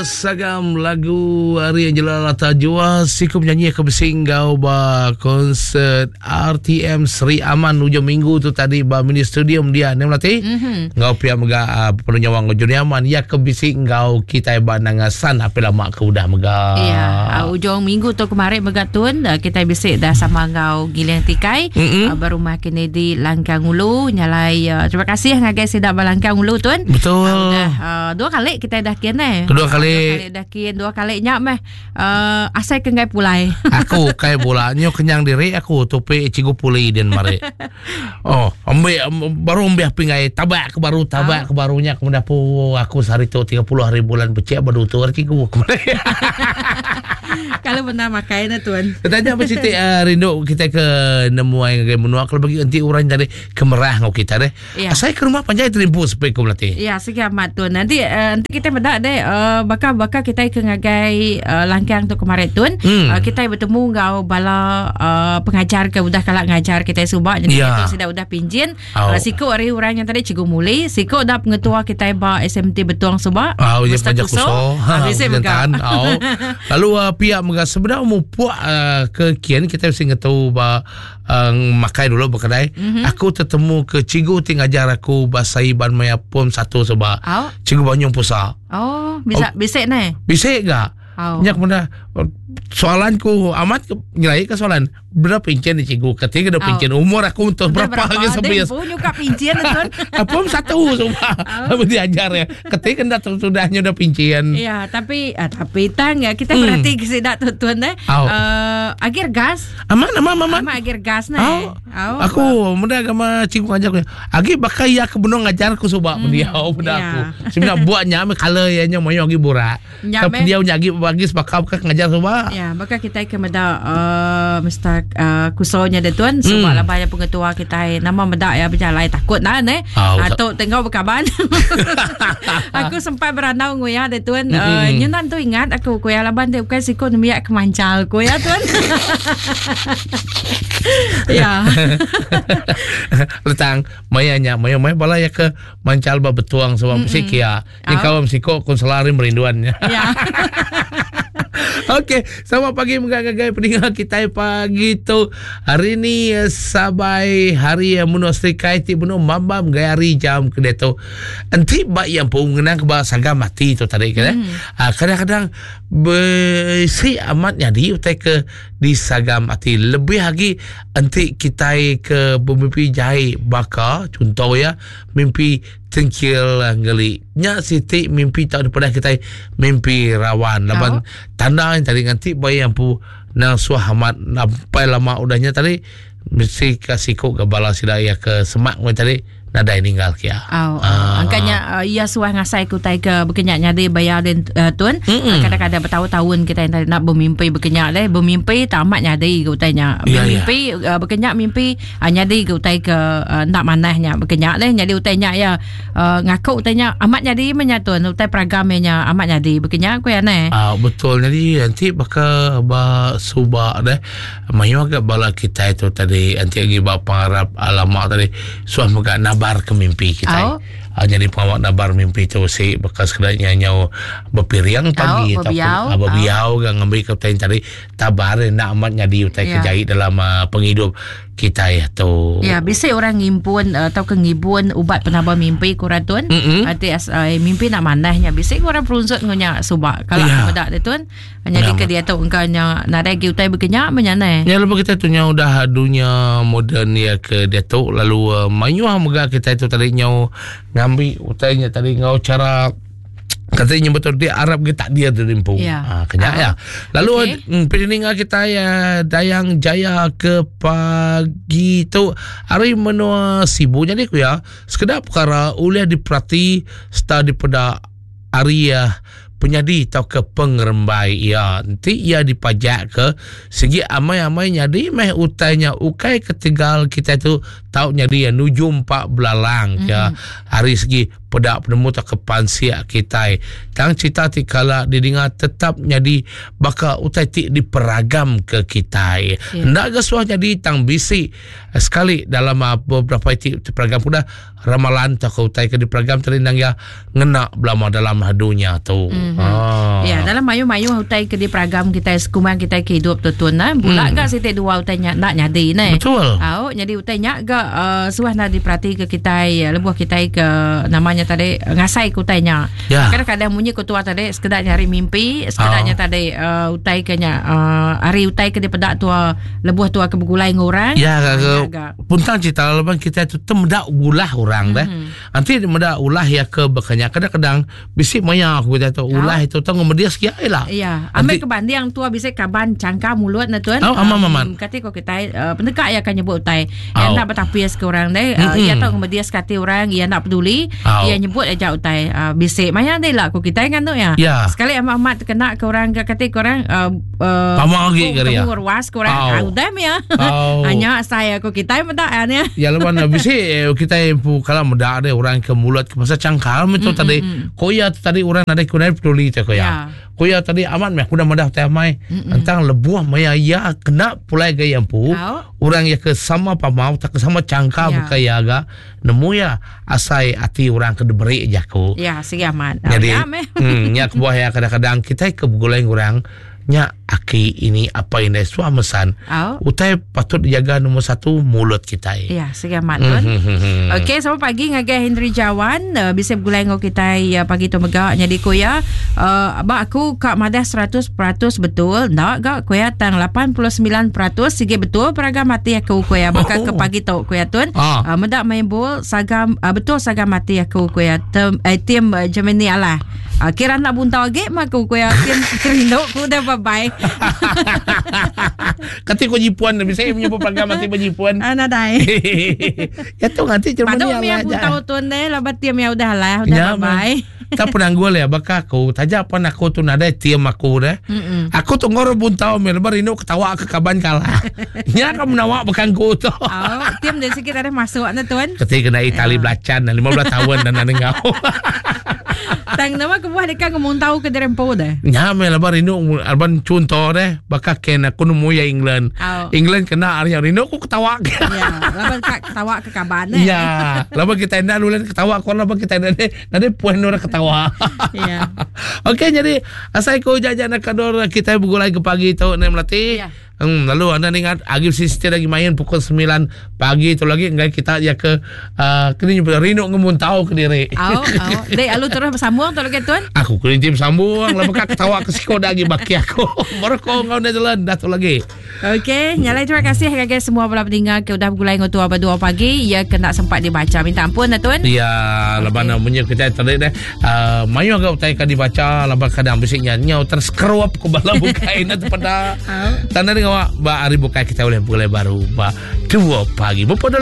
Sagam lagu hari Angela Lata Jua siku penyanyi ke bisi enggau ba konsert RTM Sri Aman ujung minggu tu tadi ba mini stadium dia ni melati mm-hmm. enggau pia mega uh, penuh nyawa enggau Juni Aman ya ke bisi enggau kita ba Nangasan api lama ke udah mega ya uh, ujung minggu tu kemarin mega tun uh, kita bisi dah sama enggau Giling Tikai mm-hmm. uh, berumah Kennedy Langkang Ulu nyalai uh, terima kasih ngagai sida ba Langkang Ulu tun betul uh, udah uh, dua kali kita dah kin eh dua kali dua kali dah kin dua kali nya meh uh, asai ke ngai pulai aku kai bola nyo kenyang diri aku topi cikgu puli din mari oh ambil baru ambil pingai tabak ke baru tabak ke barunya aku mendapu aku sehari tu 30 hari bulan becek baru tu cikgu kemarin kalau benar makai na tuan Tanya apa siti uh, rindu kita ke nemuai ngagai menua kalau bagi enti orang tadi kemerah ngau kita deh. Ya. Asai ke rumah panjai terimpu sepi ku melati. Ya, sigi amat tun. Nanti uh, nanti kita meda deh uh, bakal bakal kita ke ngagai uh, langkang tu kemarin tun. Uh, kita bertemu enggau bala uh, pengajar ke udah kala ngajar kita subak jadi Ya. itu sudah udah pinjin. Au. Siku ari orang yang tadi Cikgu Muli, siku dah pengetua kita ba SMT Betuang subak. Ah, ya Mr. pajak kuso. Ah, bisi mega. Jantan. Au. Lalu pihak mega sebenarnya mupuk ke kian kita mesti ngetu ba makai dulu berkedai. Mm-hmm. Aku tertemu ke cikgu ti ngajar aku bahasa Iban maya pom satu sebab. Oh. Cikgu Banyung Pusa. Oh, bisa oh. bisa ne. Bisa gak? Oh. Nyak benda soalanku amat ke, nyelai ke soalan berapa pincin ni cikgu ketika dah pincin oh. umur aku untuk berapa, berapa lagi sampai ya pincin tuan apa satu semua oh. diajar ya ketika dah sudahnya udah pincin ya tapi uh, tapi tang ya kita berarti hmm. kesidak tu tuan eh oh. uh, akhir gas Aman aman aman. Aman agir gas ne. Au. Aku meda agama cikgu ngajar aku. Agi baka iya ke benung ngajar aku suba pendiau peda ya. aku. Semina buat nya meh color iya nya mayuh agi burak. Nya Tang meh. pendiau nya agi bagi sebaka baka ke ngajar suba. Ya, baka kitai ke meda uh, Mr. Uh, Kuso nya de tuan suba laban iya pengetua kitai nama meda iya bejalai takut nah ne. Au. Ah, tu tenggau bekaban. aku sempat berandau enggau iya de tuan. Uh, nyenan tu ingat aku ku iya laban ti ukai siku nembiak ke manchal ku iya tuan. ya. Letang maya nya maya maya bala ya ke manchal ba betuang sebab mm -mm. kia. Ni kawan siko konselor ni merinduan nya. Ya. Okey, selamat pagi mega ngagai peninga kitai pagi tu. Hari ni eh, sabai hari eh, menua Serikai ti benung mambam gai hari jam ke diatu. Enti ba iya empu ngenang ke ba sagam mati tu tadi ke eh. Ah, kadang-kadang bisi amat nyadi utai ke disagam ati lebih agi enti kitai ke bemimpi jai baka chunto iya mimpi tengkil ngeli. Nya siti mimpi tau dipadah kitai mimpi rawan laban tanda nya tadi nganti ba iya empu nang suah amat sampai lama udah nya tadi mesti ka siku ga bala sida iya ke semak meh tadi nadai ninggal ke iya. Au. Ah. Angka nya uh, iya suah ngasai ke utai ke bekenya nyadi bayar den uh, tun. Mm-hmm. Kadang-kadang bertahun-tahun kita yang nak bermimpi bekenya deh, bermimpi tak amat nyadi ke utai nya. Ya, Bermimpi ya. Uh, bekenya mimpi uh, nyadi ke utai ke uh, enda manah nya bekenya deh nyadi utai nya iya uh, ngaku utai nya amat nyadi meh nya tun utai peragam iya nya amat nyadi bekenya ku iya neh. Ah betul nyadi enti baka ba suba deh Mayuh ga bala kitai tu tadi enti agi ba pengarap lama tadi suah mega nabar ke mimpi kitai. Au. Uh, nyadi pengawa nabar mimpi tu si baka sekeda nya nyau bepiring pagi Au, ataupun bebiau. uh, bebiau ga ngambi ke utai tadi tabar enda amat nyadi utai ke Ya. jai dalam uh, pengidup kitai tu. Ya, bisi orang ngimpun uh, tauka ngibun ubat penambah mimpi ku orang tun. Mm-mm. Ati as uh, mimpi nak manah nya bisi ku orang perunsut enggau nya suba. Kalau Ya. aku meda dia tun. Nyadi ke diatu engka nya nadai agi utai bekenya meh nya neh. Nya lebuh kitai tu nyau udah dunya moden iya ke diatu lalu uh, mayuh mega kitai tu tadi nyau ngambi utai nya tadi enggau chara kata nya betul dia Arab ke takdir tu empu. Ya. Ha, kenya ya. Lalu Okey. okay. peninga kitai uh, Dayang Jaya ke pagi tu hari menua Sibu jadi ku ya sekeda perkara ulih diperati serta dipeda ari uh, penyadi tauka pengerembai iya. Enti iya dipajakka, sigi amai-amai nyadi meh utai nya ukai ketegal kitai tu tau nyadi nuju empa belalang ke mm-hmm. ari segi peda penemu tauka pansik kitai. Tang cerita ti kala didinga tetap nyadi baka utai ti diperagam ke kitai. Yeah. Enda ga suah nyadi tang bisi sekali dalam ah, beberapa ti diperagam udah ramalan tauka utai ke diperagam tadi nang iya ngena belama dalam dunya tu. Mm-hmm. Ah. Ya, dalam mayuh-mayuh utai ke diperagam kita sekumbang kita ke hidup tu tun nah. Bula mm. ga siti dua utai nya nak nyadi ne. Betul. Au, nyadi utai nya ga uh, suah nak diperhati ke kita lebuh kita ke namanya tadi ngasai ke utai nya. Ya. Kadang-kadang munyi ke tua tadi sekedar nyari mimpi, sekedar nya tadi uh, utai ke nya uh, hari utai ke dipedak tua lebuh tua ke begulai dengan orang. Ya, ga, Puntang cerita laban kita tu temeda ulah orang deh. Mm-hmm. Nanti meda ulah ya ke bekanya kadang-kadang bisi maya aku kita tu ulah itu tu ngemedis kia lah. Ya, ambil ke banding tua bisi kaban cangka mulut na tuan. Oh, aman aman. Kati ko kita uh, peneka ya kan nyebut utai. Oh. Yang tak bertapis ke orang deh. Uh, mm-hmm. Ya tau ngemedis kati orang, ya nak peduli, oh. ya nyebut aja utai. Uh, bisi maya deh lah ko kita kan tu ya. Yeah. Sekali amat-amat kena ke orang ke kati ko orang uh, uh, Pama agi ke dia. Ruas ke orang. Ah, udah mia. Oh. Hanya saya aku kita meda ya. Ya lawan bisi eh, kita empu kalau meda ada orang ke mulut ke pasal cangkal itu mm, tadi. Mm, mm. Ko ya tadi orang ada ku peduli te ko ya. ya. Ko ya tadi amat meh aku dah madah teh mai tentang lebuh maya ya kena pulai ke empu. Oh. Orang ya ke sama pamau tak ke sama cangkal ya. bukan ya ga nemu ya asai ati orang ke diberi jaku. Ya, sigi amat. Jadi, ya, hmm, nya kebuah ya kadang-kadang kita ke begulai orang nya aki ini apa indai suah mesan. Oh. Utai patut dijaga nombor satu mulut kita. Ya, sigi amat tuan. Mm-hmm. Okey, selamat pagi ngagai Henry Jawan uh, bisa begulai ngau kita uh, pagi tu mega nyadi ku ya. Uh, ba aku ka madah 100% betul. Ndak ga ku ya tang 89% sigi betul peragam ati aku ku ya baka oh. ke pagi tu ku ya tuan. Ah. Uh, meda main bol sagam uh, betul sagam ati aku ku ya tem, eh, tim uh, Germany alah. Uh, kira nak buntau agi mah aku ku ya tim rindu ku dah bye bye. Kati ko jipuan bisa menyebut program mati jipuan. Ah nadai. ya tu nganti Germany Paduk mia buntau tuan deh laban tim ya udah lah udah ya, bye bye. Tak penanggul ya baka aku taja pan aku tu nadai tim aku deh. Mm-mm. Aku tu ngor buntau meh lebar rindu ketawa ke kaban kalah. Nya ka menawa bukan ku tu. Oh, tim dia sikit ada masuk na tuan. Ketika kena Itali belacan 15 tahun dan nang ngau. Tang nama kebuah deka ngemuntau ke dirempu deh. Nya meh laban rindu laban chunto deh baka ken aku nemu ya England. Oh. England kena ari rindu aku ketawa. Ya, laban ka ketawa ke kaban eh. Ya, laban kita enda lulan ketawa ko laban kita enda nade puan orang ketawa. Ya. Okey jadi asai ko jajan nak kador kita begulai ke pagi tu ne melati. Ya. Lalu anda ingat agi sister lagi main pukul 9 pagi tu lagi enggai kita ya ke uh, kena nyebut rindu ngemuntau ke diri. Au, au. Dek alu terus bersambung tu lagi tuan. Aku kena tim sambung lah bekat ketawa ke siko dah lagi baki aku. Baru kau ngau Netherlands dah tu lagi. Okey, nyalai terima kasih ngagai semua bala pendengar ke udah begulai ngau tua ba 2 pagi ya kena sempat dibaca. Minta ampun dah tuan. Ya, laban okay. munyi kita tadi deh. Uh, mayuh agak utai ka dibaca laban kadang bisi nya nyau terskerup ku bala bukai na tepada. Tanda dengan awak ba hari bukai kita boleh begulai baru ba 2 pagi. Berapa dulu?